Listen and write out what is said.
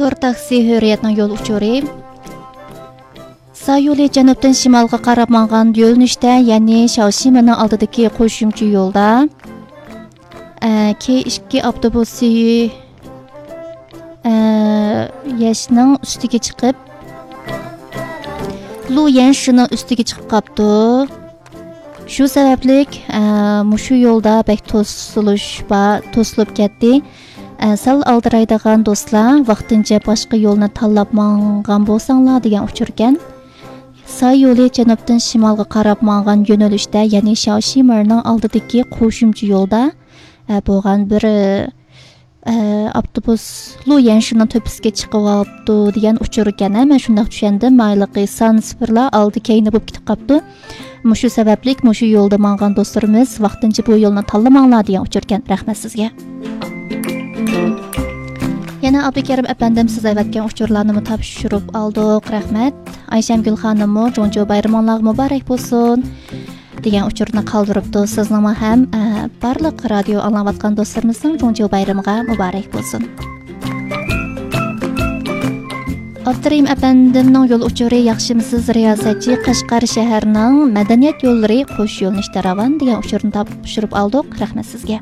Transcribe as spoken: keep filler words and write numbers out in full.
ئۇر تاكسى ھۆرىيەتنىڭ يول ئۇچۇرى. سا يولى جەنۇبتىن شىمالغا قاراپ ماڭغان يۆنىلىشتە، يەنى شياۋشىمىنىڭ ئالدىدىكى قوشۇمچە يولدا، ئە، كې ئىككى ئاپتوبۇسى، ئە، يەشنىڭ ئۈستىگە چىقىپ، لۇ يەنشىنىڭ ئۈستىگە چىقىپ قاپتۇ. شۇ سەۋەبلىك، ئە، مۇشۇ يولدا بەك توسۇلۇش بار، توسۇلۇپ كەتتى. ئە، سەل ئالدىرايدىغان دوستلار، ۋاقتىنچە باشقا يولنى تاللاپ ماڭغان بولساڭلار دېگەن ئۇچۇركەن. سا يولى جەنۇبتىن شىمالغا قاراپ ماڭغان يۆنىلىشتە، يەنى شياۋشىمىنىڭ ئالدىدىكى قوشۇمچە يولدا، ئە، بولغان بىر، ئە، ئاپتوبۇس لۇ يەنشىنىڭ تۆپىسىگە چىقىۋاپتۇ دېگەن ئۇچۇركەن. ھە، مەن شۇنداق چۈشەندىم. مايلىقى سان سىفىرلار ئالدى كەينى بولۇپ كېتىپ قاپتۇ. مۇشۇ سەۋەبلىك مۇشۇ يولدا ماڭغان دوستلىرىمىز ۋاقتىنچە بۇ يولنى تاللىماڭلار دېگەن ئۇچۇركەن. رەھمەت سىزگە. يەنە ئابدۇكېرىم ئەپەندىم سىز ئەۋەتكەن ئۇچۇرلارنىمۇ تاپشۇرۇپ ئالدۇق. رەھمەت. ئايشەمگۈل خانىممۇ جۇڭجۇ بايرىمىڭلارغا مۇبارەك بولسۇن دېگەن ئۇچۇرنى قالدۇرۇپتۇ. سىزنىڭمۇ ھەم، ئە، بارلىق رادىيو ئاڭلاۋاتقان دوستلىرىمىزنىڭ جۇڭجۇ بايرىمىغا مۇبارەك بولسۇن. ئابدۇرېھىم ئەپەندىمنىڭ يول ئۇچۇرى ياخشىمۇسىز رىياسەتچى، قەشقەر شەھەرنىڭ مەدەنىيەت يوللىرى قوش يۆنىلىشتە راۋان دېگەن ئۇچۇرنى تاپشۇرۇپ ئالدۇق. رەھمەت سىزگە.